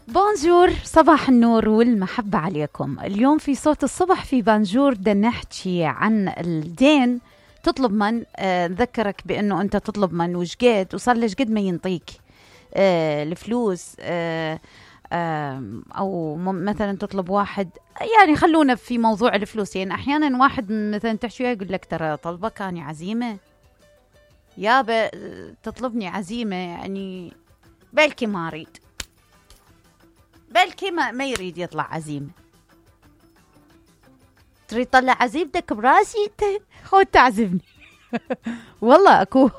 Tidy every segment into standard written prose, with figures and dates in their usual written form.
بونجور، صباح النور والمحبة عليكم. اليوم في صوت الصبح في بانجور بدنا نحكي عن الدين. تطلب من نذكرك بأنه أنت تطلب من وشقد وصار لش قد ما ينطيك الفلوس، أو مثلا تطلب واحد، يعني خلونا في موضوع الفلوس. يعني أحيانا واحد مثلا تحكي وياه يقول لك ترى طلبك أنا عزيمة يابا، تطلبني عزيمة، يعني بلكي ما أريد، بلكي ما يريد يطلع عزيمة. تريد تطلع عزيمتك براسي انت، خود تعزمني. والله اكو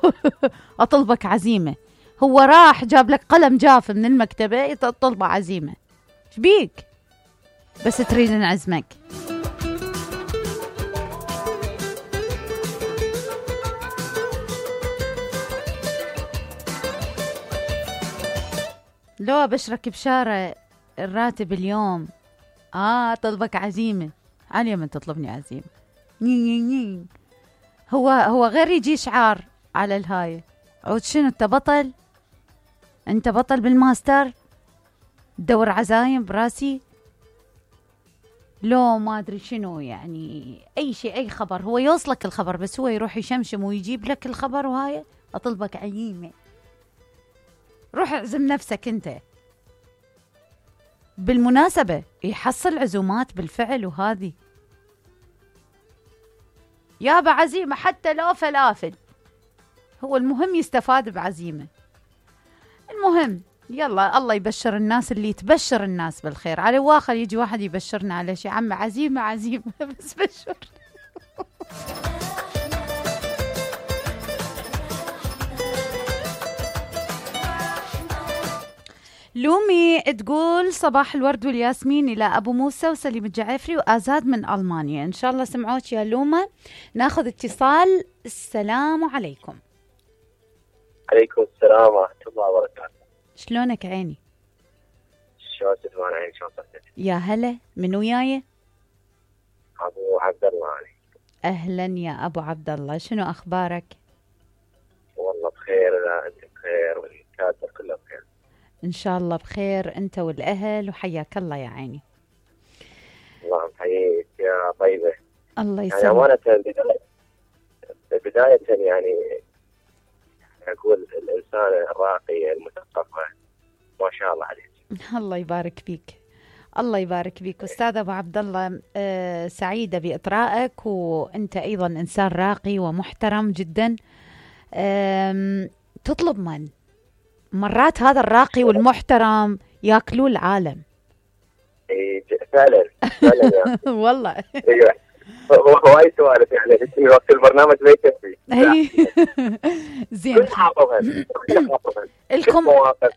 اطلبك عزيمة، هو راح جاب لك قلم جاف من المكتبة تطلبه عزيمة، شبيك بس تريد نعزمك؟ لو بشرك بشارة الراتب اليوم، طلبك عزيمة، علي من تطلبني عزيمة. هو غير يجي شعار على الهاي، عود شنو انت بطل؟ انت بطل بالماستر تدور عزايم براسي؟ لو ما ادري شنو، يعني اي شيء، اي خبر، هو يوصلك الخبر بس هو يروح يشمشم ويجيب لك الخبر، وهاي اطلبك عزيمة. روح اعزم نفسك انت. بالمناسبة يحصل عزومات بالفعل، وهذه يابا عزيمة حتى لو فلافل، هو المهم يستفاد بعزيمة. المهم يلا الله يبشر الناس اللي تبشر الناس بالخير. على واخر يجي واحد يبشرنا على شيء، عم عزيمة عزيمة بس بشر. لومي تقول صباح الورد والياسمين إلى أبو موسى وسليم الجعفري وآزاد من ألمانيا. إن شاء الله سمعوك يا لومة. ناخذ اتصال. السلام عليكم. عليكم السلام ورحمة الله وبركاته. شلونك عيني؟ شلون تدوان عيني؟ شلون صحتك؟ يا هلا، من وياي؟ أبو عبد الله علي. أهلا يا أبو عبد الله، شنو أخبارك؟ والله بخير، أنت بخير والكاتب كله بخير إن شاء الله بخير أنت والأهل، وحياك الله يا عيني. الله يحييك يا طيبة. الله يسلمك. يعني أمانة بداية يعني أقول الإنسان الراقي المثقف ما شاء الله عليك. الله يبارك فيك، الله يبارك فيك أستاذ أبو عبد الله. سعيدة بإطرائك، وأنت أيضا إنسان راقي ومحترم جدا. تطلب من مرات هذا الراقي والمحترم ياكلوا العالم. فعلا فعلا والله هو أي سوالف يعني اسمي وقت البرنامج ما يكفي. زين. كل حافظها مواقف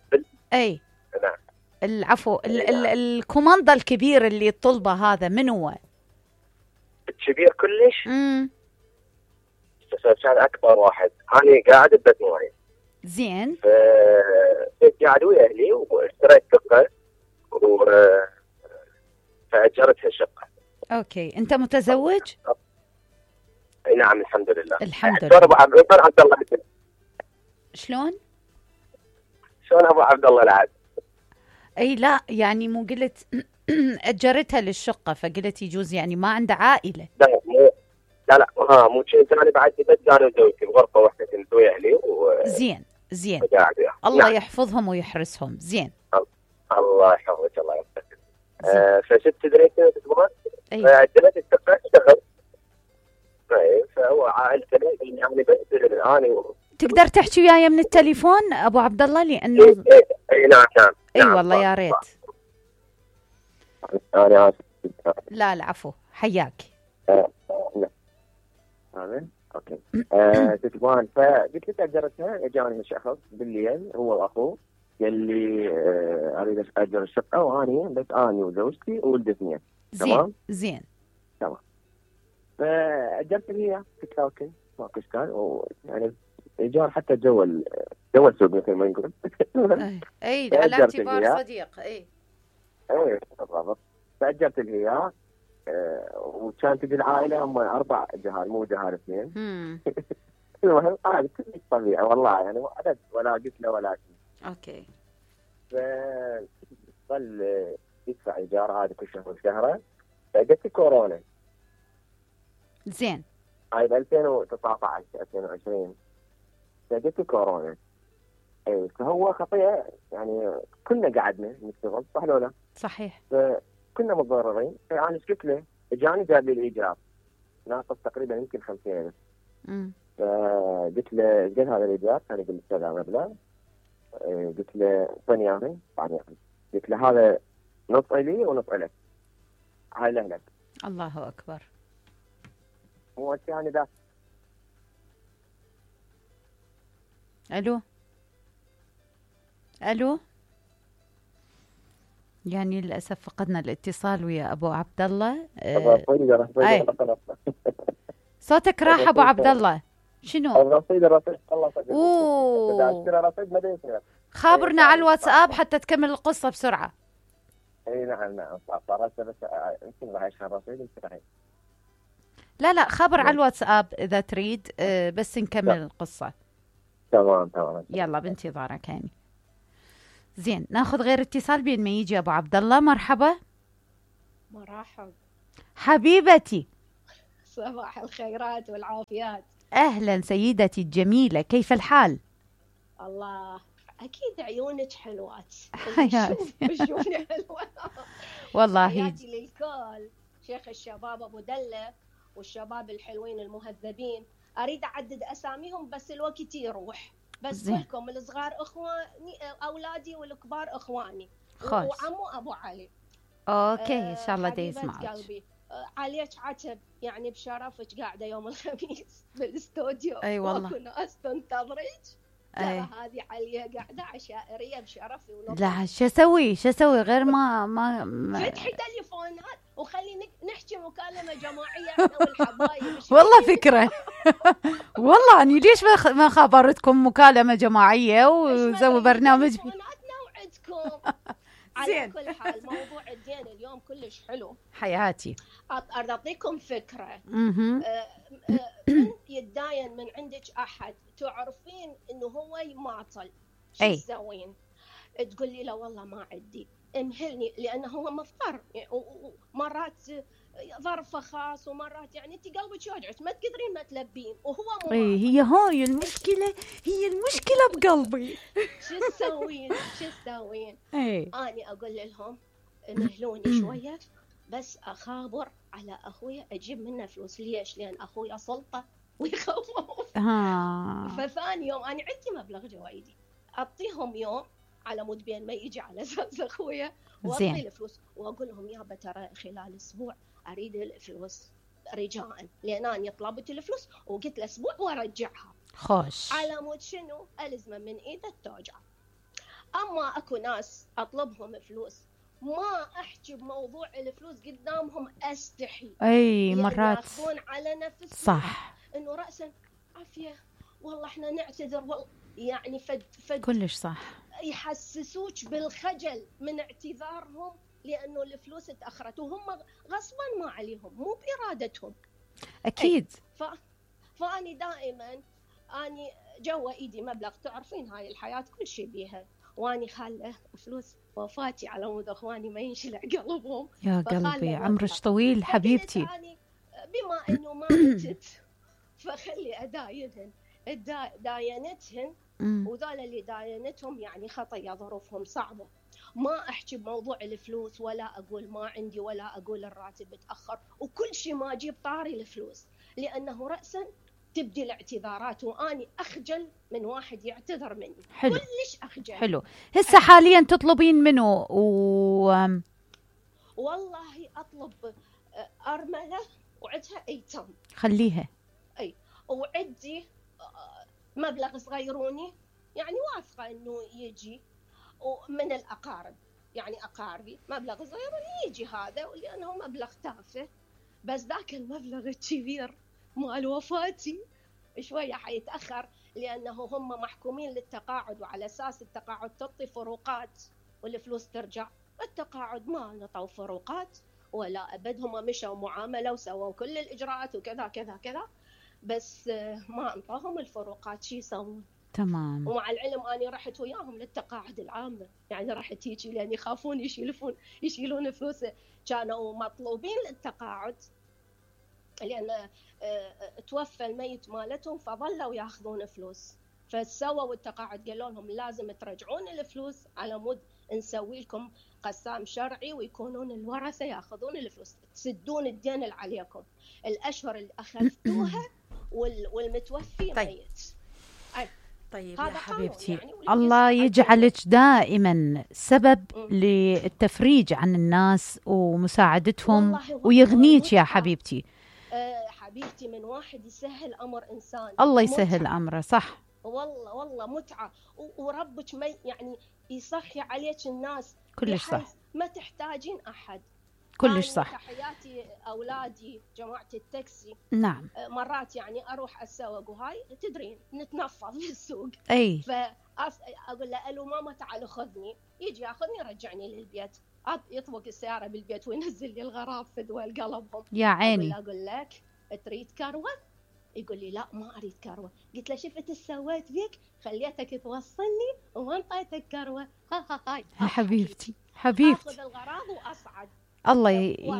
أي نعم. العفو. الكوماندا الكبير اللي طلبه هذا من هو؟ الكبير كلش. كان أكبر واحد، أنا قاعد ببيت معين. زين. قاعد ويا أهلي واشتريت شقة فأجرتها شقة. أوكي، أنت متزوج؟ نعم الحمد لله. الحمد لله. أبو عبد الله. شلون أبو عبد الله العاد؟ أي لا، يعني مو قلت أجرتها للشقة فقلت يجوز يعني ما عنده عائلة؟ لا مو شيء. أنا بعد بس أنا وزوجتي بغرفة واحدة كنت ويا أهلي زين. الله نعم. يحفظهم ويحرسهم. زين. الله يحفظك الله يحفظك. فشفت تدري شنو تبغى؟ عجبت الشقة اشتغل. فهو عائلته يعني بس أنا تقدر تحكي وياي من التليفون أبو عبد الله لأنه نعم. أي والله يا ريت. أنا آسف. لا العفو، حياك. آمين. أوكي. تتبان فقلت له أجرتها. جاني شخص بالليل هو وأخوه قال لي أريد أجر الشقة، وأنا بس أنا وزوجتي وولد اثنين. تمام. زين. تمام. فأجرت لي قلت له أوكي ماكو إشكال، يعني إيجار حتى جوا سوق مثل ما نقول. أي على اعتبار صديق. أي بالضبط. فأجرت لي إياه. وكانت العائلة هم 4 جهال مو جهال 2. المهم هذا كلش طبيعي والله، يعني عدد ولا قلت له ولا شيء. اوكي. ظل يدفع ايجار هذا كل شهر وشهره. فجت كورونا زين. هاي ب 2019 2020 فجت كورونا. اي فهو خطيه يعني كلنا قعدنا نشتغل صح ولا لا؟ صحيح. فكنا متضررين. فانا ايش قلت له؟ اجاني جاب لي الايجار ناقص تقريبا يمكن 50,000. فقلت له قد هذا الايجار؟ كان يقول لي كذا مبلغ. قلت له اعطني اياه. قلت له هذا نص لي ونص لك. هاي لك. الله اكبر. هو يعني ذا. الو الو. يعني للاسف فقدنا الاتصال ويا ابو عبد الله. صوتك راح ابو عبد الله. شنو؟ الرصيد اوه خابرنا على الواتساب حتى تكمل القصه بسرعه. اي نعم صارت بس يمكن راح يشحن الرصيد لا خبر على الواتساب اذا تريد. بس نكمل القصه. تمام يلا بانتظارك هاني. زين ناخذ غير اتصال بين ما يجي ابو عبد الله. مرحبا. مرحب حبيبتي. صباح الخيرات والعافيات. اهلا سيدتي الجميله، كيف الحال؟ الله اكيد عيونك حلوات. حياتي. شوفني حلوه والله. حياتي للكل. شيخ الشباب ابو دله والشباب الحلوين المهذبين. اريد اعدد اساميهم بس الوقت يروح. بس كلكم الصغار اخواني اولادي والكبار اخواني. وعمو ابو علي. اوكي ان شاء الله يسمعك. قلبي عليك عتب يعني بشرفك قاعده يوم الخميس بالاستوديو. اي والله. واكو ناس تنتظرك. ترى هذه عليا قاعده عشائريه بشرفي ولطفي. لا شو اسوي غير ما فتحي تليفونات وخلي نحكي مكالمه جماعيه احنا والحبايب. والله فكره. والله اني ليش ما خبرتكم مكالمه جماعيه ونسوي برنامج. تليفوناتنا وعدكم. على كل حال موضوع الدين اليوم كلش حلو. حياتي. أعطيكم فكرة. يتداين من عندك أحد تعرفين إنه هو يماطل. شو تسوين؟ تقول لي لا والله ما عندي. امهلني لأنه هو مضطر. مرات ظرفه خاص ومرات يعني انت قلبك يوجعك ما تقدرين ما تلبين وهو مو. هي هاي المشكله. هي المشكله بقلبي. شو تسوين؟ اني اقول لهم مهلوني شويه بس اخابر على اخويا اجيب منه فلوس. ليش؟ لان اخويا سلطه ويخوف. فثاني يوم انا عندي مبلغ جوايدي اعطيهم يوم على مود بين ما يجي على اساس اخويا واعطي الفلوس واقول لهم يابا ترى خلال اسبوع اريد الفلوس رجاء لان انا طلبت الفلوس وقلت له اسبوع وارجعها. خوش. على مود شنو؟ الزمه من ايده التوجع. اما اكو ناس اطلبهم فلوس ما احكي بموضوع الفلوس قدامهم استحي. مرات ياخذون على نفسهم. صح. انه راسا عافيه والله احنا نعتذر والله يعني فد كلش صح. يحسسوك بالخجل من اعتذارهم لانه الفلوس تاخرت وهم غصبا ما عليهم مو بارادتهم. اكيد. فاني دائما اني جوا ايدي مبلغ تعرفين هاي الحياه كل شيء بيها واني خاله فلوس وفاتي على مود اخواني ما ينشلع قلبهم. يا قلبي عمرك طويل حبيبتي. بما انه ما متت فخلي اداينهن داينتهن وذول اللي داينتهم يعني خطيه ظروفهم صعبه. ما احكي بموضوع الفلوس ولا اقول ما عندي ولا اقول الراتب تاخر وكل شيء ما اجيب طاري الفلوس لانه راسا تبدي الاعتذارات واني اخجل من واحد يعتذر مني. حلو. كلش اخجل. حلو. هسه حاليا تطلبين منه والله اطلب ارمله وعدها ايتام. خليها. وعدي مبلغ صغيروني يعني واثقه انه يجي ومن الاقارب يعني اقاربي مبلغ صغيروني يجي هذا لانه مبلغ تافه. بس ذاك المبلغ الكبير مال وفاتي شويه حيتاخر لانه هم محكومين للتقاعد وعلى اساس التقاعد تعطي فروقات والفلوس ترجع. التقاعد ما نطوا فروقات ولا ابد. هم مشوا معامله وسووا كل الاجراءات وكذا كذا كذا بس ما انطاهم الفروقات. شو يسوون؟ تمام. ومع العلم أنا رحت وياهم للتقاعد العامة، يعني رحت هيجي لأن يخافون يشيلون فلوس، كانوا مطلوبين للتقاعد لأن توفى الميت مالتهم فظلوا ياخذون فلوس، فسووا التقاعد قالوا لهم لازم ترجعون الفلوس على مود نسوي لكم قسام شرعي ويكونون الورثة ياخذون الفلوس، تسدون الدين اللي عليكم الأشهر اللي أخذتوها والمتوفي طيب. ميت. طيب يا حبيبتي، يعني الله يجعلك دائما سبب للتفريج عن الناس ومساعدتهم ويغنيك يا حبيبتي. حبيبتي من واحد يسهل أمر إنسان الله يسهل أمره. صح والله متعة، وربك يعني يصحي عليك الناس كلش صح، ما تحتاجين أحد. كلش صح. تحياتي أولادي جماعة التاكسي. نعم. مرات يعني أروح أسوق وهاي تدرين نتنفض في السوق، أي فأقول له ألو ماما تعال خذني، يجي ياخذني يرجعني للبيت، يطبق السيارة بالبيت وينزل لي الغراب فدوى قلبهم يا عيني. أقول لك تريد كروة؟ يقول لي لا ما أريد كروة. قلت له شفت سويت فيك، خليتك توصلني وما انطيتك كروة. هاي حبيبتي أخذ الغراض وأصعد. الله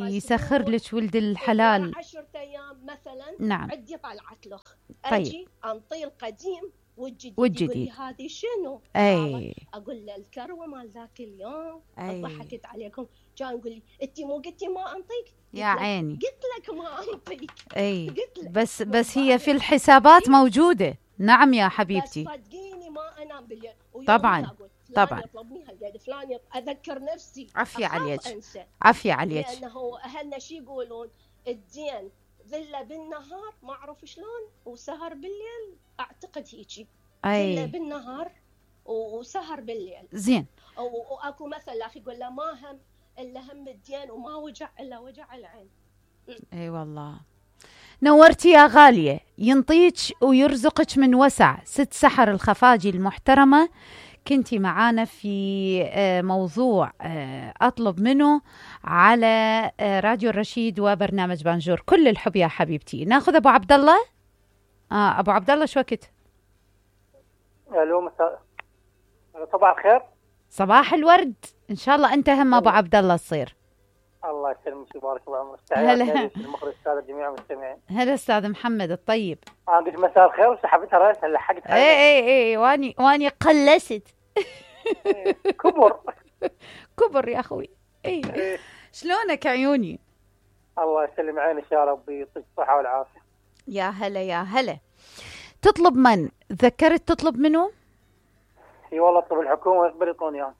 يسخر لك ولد الحلال. 10 أيام مثلا. نعم. عندي طلعت له. طيب. أجي أنطي القديم والجديد. والجديد. يقول لي هذه شنو؟ أي. أقول له الكروة مال ذاك اليوم. أي. ضحكت عليكم. كان يقول لي أنت مو قلتي ما أنطيك؟ يا عيني. قلت لك ما أنطيك. أي. قلت لك. بس هي في الحسابات موجودة. نعم يا حبيبتي. بس صدقيني ما أنام بالليل. طبعا طبعا. يطلبني هالقد فلان أذكر نفسي. عافية عليك. عافية عليك. لأنه أهلنا شي يقولون الدين ذلة بالنهار ما أعرف شلون وسهر بالليل، أعتقد هيجي. ذلة بالنهار وسهر بالليل. زين. وأكو مثل أخي يقول له ما هم إلا هم الدين وما وجع إلا وجع العين. أي والله. نورتي يا غالية، ينطيك ويرزقك من وسع. ست سحر الخفاجي المحترمة، كنتي معانا في موضوع أطلب منه على راديو الرشيد وبرنامج بانجور. كل الحب يا حبيبتي. ناخذ أبو عبد الله. أبو عبد الله شو وقت؟ الو صباح الخير. صباح الورد إن شاء الله. أنت هم أبو عبد الله تصير. الله يسلمك ويبارك بعمرك. هلا المخرج السادة جميع المستمعين. هلا أستاذ محمد الطيب. أنا قلت مساء الخير وسحبتها رأسها لحقتها. اي واني قلست. كبر يا اخوي. اي شلونك عيوني؟ الله يسلم عينك يا رب، يعطيك الصحة والعافية. يا هلا يا هلا. تطلب من؟ ذكرت تطلب منه؟ اي والله اطلب الحكومة يقبل يعطوني اياه.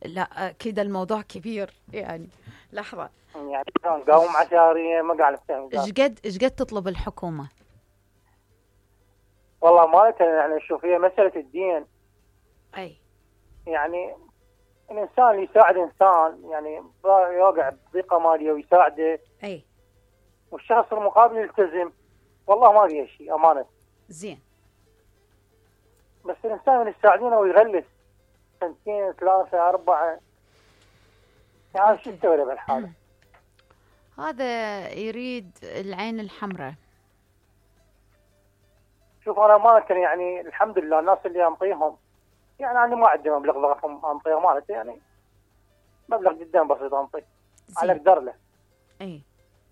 لا كذا الموضوع كبير يعني. لحظة يعني قاوم عشارية ما قاعد نفهم. ايش قد تطلب الحكومة؟ والله مالتها يعني شوف هي مسألة الدين. اي يعني الانسان اللي يساعد انسان يعني يوقع بضيقة مالية ويساعده. اي. والشخص المقابل يلتزم. والله ما فيها شيء امانة. زين. بس الانسان اللي يساعدونه ويغلس 2 3 4 يعني شو يسوي له بالحالة؟ هذا يريد العين الحمراء. شوف انا امانة يعني الحمد لله الناس اللي انطيهم يعني انا ما عندي مبلغ ضخم انطيه امانة، يعني مبلغ جدا بسيط انطيه على قدر له. اي.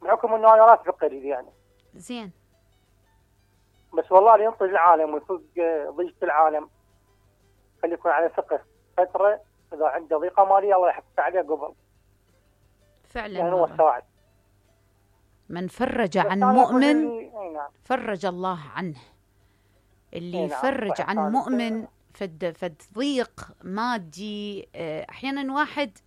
بحكم انه انا راتبي قليل يعني. زين. بس والله اللي ينطي العالم ويفوق ضيقة العالم خلي يكون على ثقة فترة، اذا عنده ضيقة مالية الله يحفظ عليه قبل. فعلا يعني هو الساعد. من فرج عن مؤمن فرج الله عنه. اللي يفرج عن مؤمن فد ضيق مادي. احيانا واحد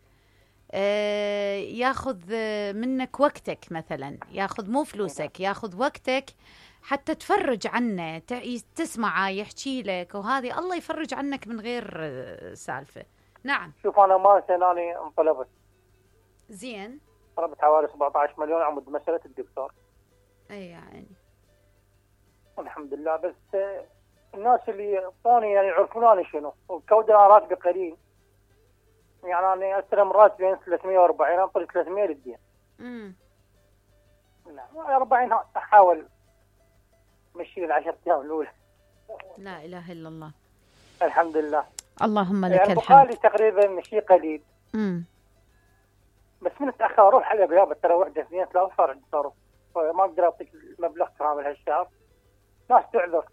ياخذ منك وقتك، مثلا ياخذ مو فلوسك، ياخذ وقتك حتى تفرج عنه، تسمعه يحكي لك، وهذه الله يفرج عنك من غير سالفة. نعم. شوف انا ما سناني انطلبت. زين. طلبت حوالي 17 مليون عمود مسألة الدكتور. اي يعني الحمد لله. بس الناس اللي يعطوني يعني يعرفونني شنو، والكودة انا راتبي قليل، يعني انا استلم راتبي 340 انطي 300 للدين. نعم 40 احاول امشي ال10 ايام الاولى. لا إله إلا الله. الحمد لله. اللهم لك يعني الحمد. بقالي تقريبا شيء قليل. بس من اتاخر اروح على بيابه ترى وحده 2 3 صار عندي تصرف، ما اقدر اعطيك المبلغ كامل هالشهر. ناس تعذر.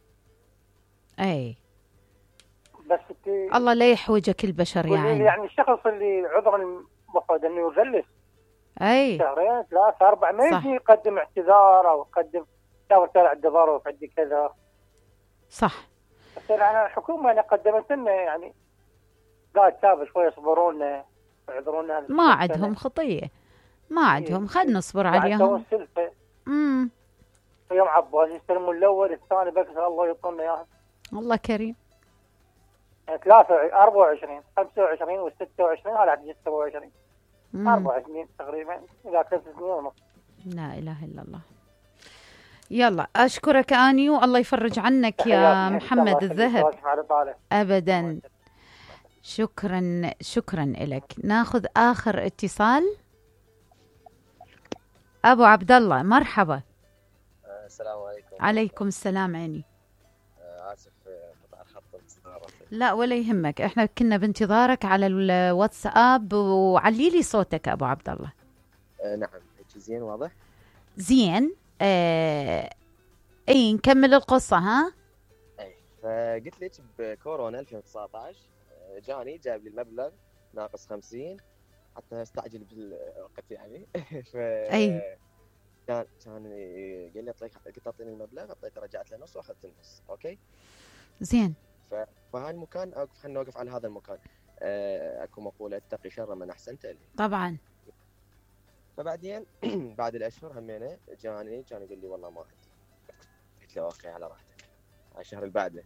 اي بس الله لا يحوجك البشر يا عيني. يعني الشخص اللي عذر المفروض انه يجلس اي 2 3 4 ما يجي يقدم اعتذار او يقدم ترى عندي ظرف عندي كذا. صح. بس انا الحكومه انا قدمت لنا يعني قاعد تابع شويه يصبرونا يعذرونا. ما عندهم خطيه، ما عندهم، خلينا نصبر عليهم. يوم عباس يستلمون الاول الثاني بس الله يعطونا اياها. الله كريم. 23 24 25 و26 هذا عاد 27 24 تقريبا اذا 3 سنين ونص. لا اله الا الله. يلا اشكرك اني والله يفرج عنك يا محمد الذهب. ابدا. شكرا لك. ناخذ اخر اتصال. ابو عبد الله مرحبا. السلام عليكم. عليكم السلام عيني. اسف قطع الخط بانتظارك. لا ولا يهمك، احنا كنا بانتظارك على الواتساب. وعلي لي صوتك ابو عبد الله. نعم هيك زين واضح. زين. اي نكمل القصه ها. اي فقلت لك بكورونا 2019 جاني جاب لي المبلغ ناقص 50 حتى استعجل بالوقت يعني. اي كان قال لي قلت اعطيني المبلغ، اعطيته رجعت له نص واخذت النص. اوكي زين. فهالمكان خلينا نوقف على هذا المكان. اكو مقوله اتقي شر من احسنت اليه. طبعا. فبعدين بعد الاشهر همينه جاني كان يقول لي والله ما عندي. قلت له اوكي على راحتك. على الشهر اللي بعده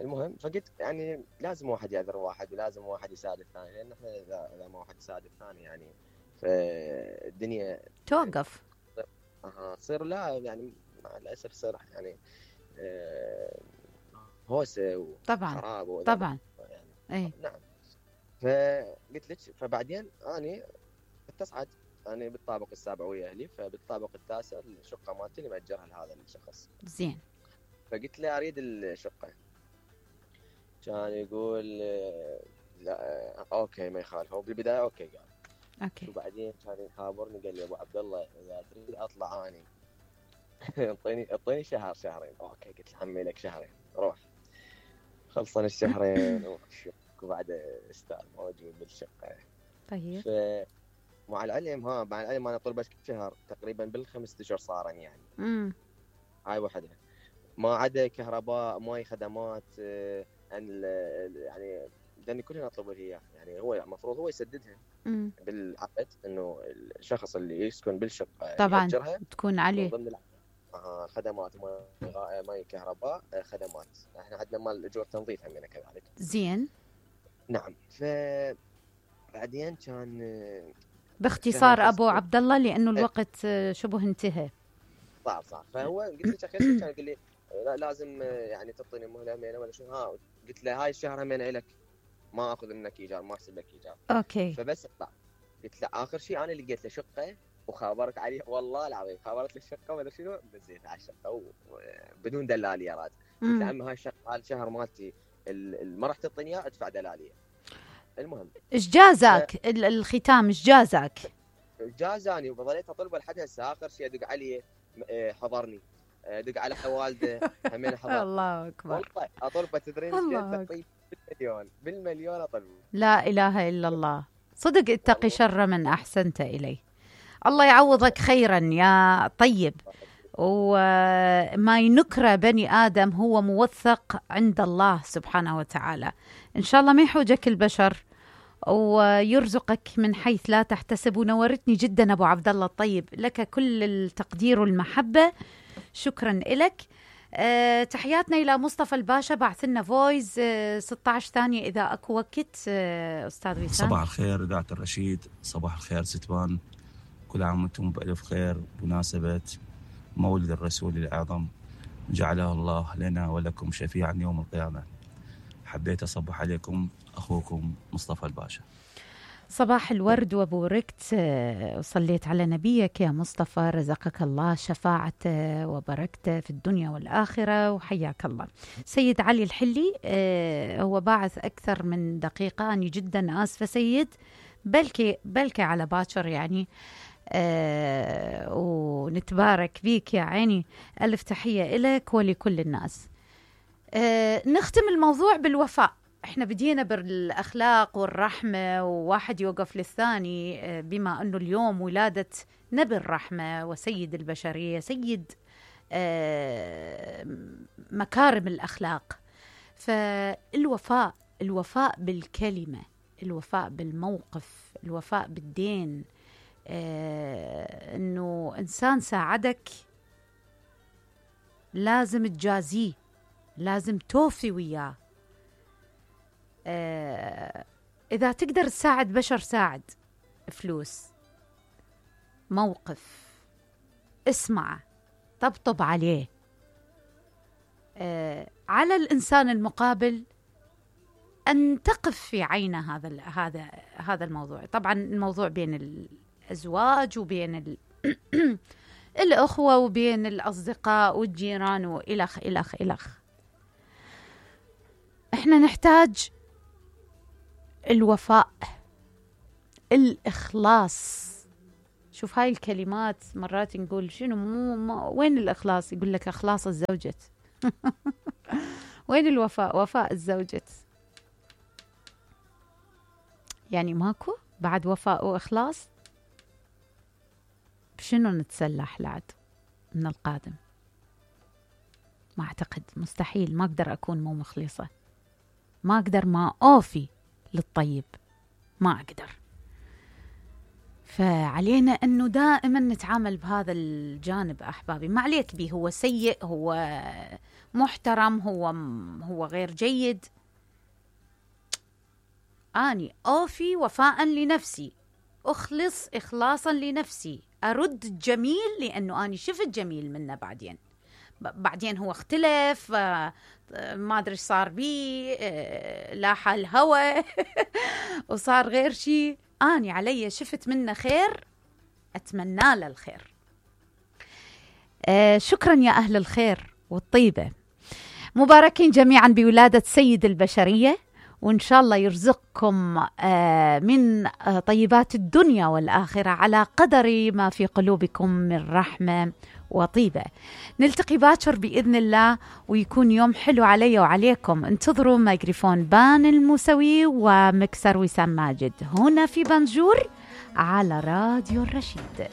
المهم فقلت يعني لازم واحد يعذر واحد ولازم واحد يساعد الثاني، لان احنا اذا ما واحد يساعد الثاني يعني فالدنيا توقف. تصير لا يعني مع الاسف تصير يعني هوسه وخراب طبعا يعني. اي نعم. فقلت لك فبعدين اني اتصعد أنا بالطابق السابع ويا أهلي، فبالطابق التاسع الشقة مالتي اللي مأجرها لهذا الشخص. زين. فقلت له أريد الشقة. كان يقول لا أوكي ما يخالف. هو بالبداية أوكي قال. أوكي. وبعدين كان يخابرني قال لي أبو عبد الله إذا تريد أطلع أني أعطيني شهرين. أوكي قلت له حمي لك شهرين روح. خلصنا الشهرين وبعد استاذ موجود بالشقة. طيب. مع العلم انا طلبت شهر تقريبا بالخمس اشهر صارن يعني. هاي وحده ما عدا كهرباء ماي خدمات يعني لان كلنا نطلب هي يعني هو المفروض هو يسددها بالعقد انه الشخص اللي يسكن بالشقه طبعا تكون عليه ضمن خدمات ماي كهرباء خدمات. احنا عندنا مال اجور تنظيف همنا كذلك. زين. نعم. بعدين كان باختصار ابو عبد الله لانه الوقت شبه انتهى. صح. فهو قلت له كان يقول لي لازم يعني تعطيني مهله همينه ولا شنو. قلت له هاي الشهر همينه لك ما اخذ منك ايجار ما احسب لك ايجار. اوكي. فبس اطلع. قلت له اخر شيء انا لقيت له شقه وخابرت عليه والله العظيم خابرت له الشقه ولا شنو نزلت على الشقه بدون دلاليه راد. قلت له عمي هاي الشهر مالتي ما راح تعطيني اياه ادفع دلاليه. المهم ايش جازك الختام ايش جازك؟ جازاني وظليت اطلبه لحد هسه. اخر شيء ادق عليه حضرني ادق على والده همين حضر. الله اكبر. والله اطلبه تدرين ايش بالمليون اطلبه. لا اله الا الله. صدق اتقي شر من احسنت اليه. الله يعوضك خيرا يا طيب. وما ينكر بني آدم هو موثق عند الله سبحانه وتعالى. إن شاء الله ما يحوجك البشر ويرزقك من حيث لا تحتسب. ونورتني جدا أبو عبد الله الطيب. لك كل التقدير والمحبة. شكرا لك. تحياتنا إلى مصطفى الباشا بعث لنا فويس 16 ثانية إذا أكو وقت. أستاذ وسام. صباح الخير إذاعة الرشيد. صباح الخير ستبان. كل عام وانتم بألف خير بمناسبة مولد الرسول الأعظم جعله الله لنا ولكم شفيعا يوم القيامة. حبيت أصبح عليكم أخوكم مصطفى الباشا. صباح الورد وبوركت، وصليت على نبيك يا مصطفى، رزقك الله شفاعته وبركته في الدنيا والآخرة، وحياك الله. سيد علي الحلي هو باعث أكثر من دقيقة، أنا جدا آسفة سيد، بلكي على باكر يعني، ونتبارك بيك يا عيني. ألف تحية إلك ولكل الناس. نختم الموضوع بالوفاء. احنا بدينا بالأخلاق والرحمة، وواحد يوقف للثاني، بما أنه اليوم ولادة نبي الرحمة وسيد البشرية، سيد مكارم الأخلاق. فالوفاء، الوفاء بالكلمة، الوفاء بالموقف، الوفاء بالدين، أنه إنسان ساعدك لازم تجازيه، لازم توفي وياه. إذا تقدر تساعد بشر ساعد، فلوس، موقف، اسمع، طبطب عليه. على الإنسان المقابل أن تقف في عينه. هذا الموضوع. طبعا الموضوع بين الأزواج وبين الأخوة وبين الأصدقاء والجيران وإلخ إلخ إلخ. احنا نحتاج الوفاء، الإخلاص. شوف هاي الكلمات مرات نقول شنو وين الإخلاص؟ يقول لك إخلاص الزوجة. وين الوفاء؟ وفاء الزوجة. يعني ماكو بعد وفاء وإخلاص؟ بشنو نتسلح لعد من القادم؟ ما أعتقد، مستحيل. ما أقدر أكون مو مخلصة، ما أقدر ما أوفي للطيب، ما أقدر. فعلينا أنه دائما نتعامل بهذا الجانب أحبابي. ما عليك به هو سيء، هو محترم، هو غير جيد. أني أوفي وفاء لنفسي، أخلص إخلاصا لنفسي، أرد الجميل لأنه أني شفت جميل منه. بعدين هو اختلف، ما أدري صار بي، لاح الهوى وصار غير شيء. أني علي شفت منه خير، أتمنى له الخير. شكرا يا أهل الخير والطيبة، مباركين جميعا بولادة سيد البشرية، وإن شاء الله يرزقكم من طيبات الدنيا والآخرة على قدر ما في قلوبكم من رحمة وطيبة. نلتقي باكر بإذن الله، ويكون يوم حلو علي وعليكم. انتظروا ميكروفون بان الموسوي ومكسر وسام ماجد هنا في بنجور على راديو الرشيد.